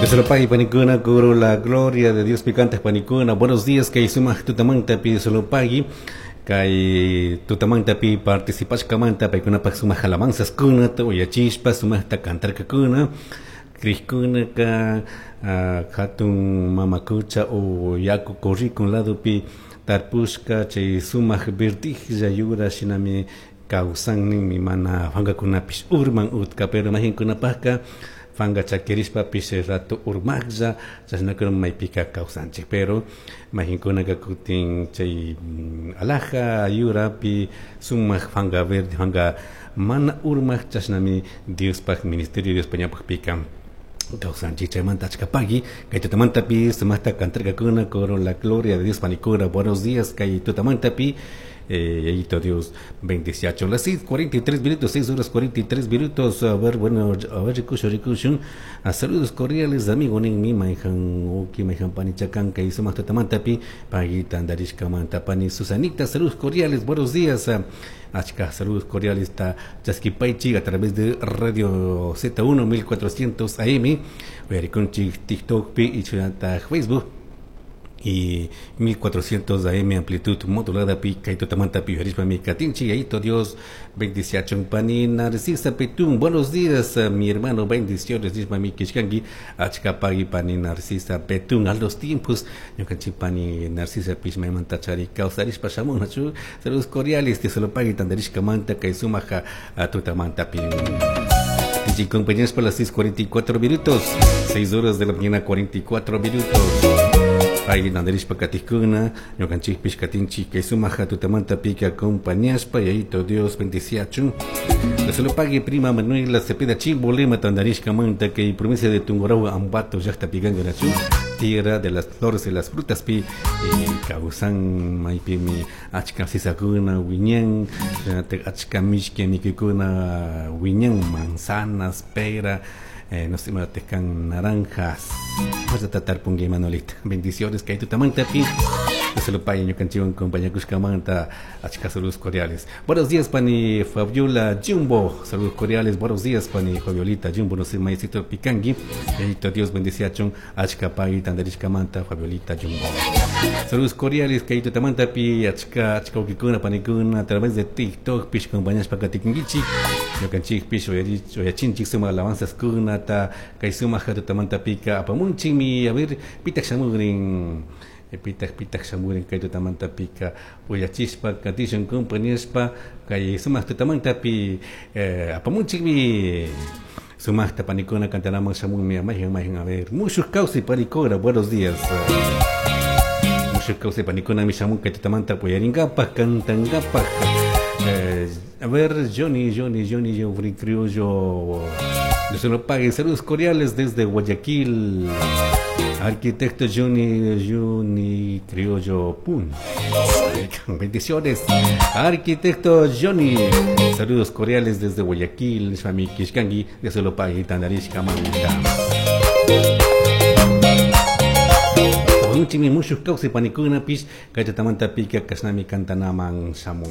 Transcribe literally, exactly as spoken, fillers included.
Dios lo pague, panicuna, coro la gloria de Dios picante, panicuna. Buenos días, kay sumaq tutamanta pi Dios lo pague. Kay tutamanta pi participashkamanta paykunapaq sumaq alabanzaskunata uyachispa sumaqta cantarkakuna. Crijkunaka hatun mamakucha o yaku corrikun ladopi tarpushka chay sumaq verdijlla yura shinami kawsanninmi mana fangakunapish urman utka, pero mahinkunapaqka fanga chakirishpapish rato urmaqlla chashnakuna maypika kawsanchik, pero mahinkunaka kutin chay alaja yurapi sumaq fanga verde fanga mana urmaq chashnami Diospaq ministerio Diospaq ñawpaqpika kawsanchik. Chaymanta achkapaqui kay tutamantapi sumaqta cantarkakuna coro la gloria de Dios panikuna. Buenos días kay tutamantapi. Eh, Dios bendeciacho. Las seis cuarenta y tres minutos, seis horas cuarenta y tres minutos. A ver, bueno, a ver, rikusho, rikusho. A saludos cordiales, amigo, nin mi maijan, oki, maijan panichacan, que hizo más tatamantapi, paguita, andarishka, mantapani, Susanita, saludos cordiales, buenos días. Achka, saludos cordiales, ta Chaskipaichi a través de Radio Z uno mil cuatrocientos A M, Uyarikunchi, TikTok, pi, y Chunata, Facebook. Y mil cuatrocientos A M amplitud modulada pi kaitotamanta pi yarishpa mi katinchi ayito Dios bendice a Chompani Narcisa Petún. Buenos días, mi hermano, bendiciones nishpa mi kishkanki achka pagui pani Narcisa Petún. A los tiempos ñukanchik pani Narcisa pishma imanta chari kawsarishpa shamunachu. Saludos cordiales te solo pagui tandarishka manta kay sumaja tutamanta pi. Y compañeros por las seis cuarenta y cuatro minutos, seis horas de la mañana cuarenta y cuatro minutos. Ay, nandarishpa katikuna, ñukanchik pishkatinchik kay sumaja tutamanta pica acompañaspa, y ahí Dios bendeciachun. Le solo pague prima Manuela Cepeda Chimbolema tandarishka manta que provincia de Tungurahua Ambato llaqta pikangarachun, tierra de las flores y las frutas pi, eh, kawsan maypimi achka sisakuna wiñan, achka mishki mikikuna wiñan, manzanas, pera, Eh, no sé, tecan naranjas. Vamos a tratar pungue Manolita. Bendiciones que hay tu tamanta pi. Se lo pague ñukanchiwan compañía Cuscamanta, achka saludos cordiales. Buenos días, pani Fabiola Jumbo. Saludos cordiales. Buenos días, pani Fabiolita Jumbo. No sé, maestro Picangui. Eito Dios bendice a chon achka pagui tandarishkamanta Fabiolita Jumbo. Saludos cordiales que hay tu tamanta pi achka achka ukikuna panikuna a través de TikTok pish compañías pakatikingichi. Ñukanchik pish oyachinchik suma alabanzas kuna ta kay suma hatutamanta pika apamunchimi. A ver, pitak shamugrin. Pitak pitak shamurin kay tutamanta pika uyachispa katishun compañíaspa kay sumaq tutamanta pi apamunchikmi. Sumaqta panikuna cantanaman shamunmi mayhan mayhan. A ver, mushuk kawsay panikuna, buenos días. Mushuk kawsay panikuna mi shamun kay tutamanta puyaringapaj cantangapaj. Eh, a ver, Johnny, Johnny, Johnny, Johnny Criollo. Dios se lo pague. Saludos cordiales desde Guayaquil. Arquitecto Johnny, Johnny Criollo Pun. Bendiciones. Arquitecto Johnny. Saludos cordiales desde Guayaquil. Shami Kishkangi. Dios se lo pague. Tandarishka manta. Muchos causa panikuna pish. Kachatamanta pica kasnami cantanaman shamun.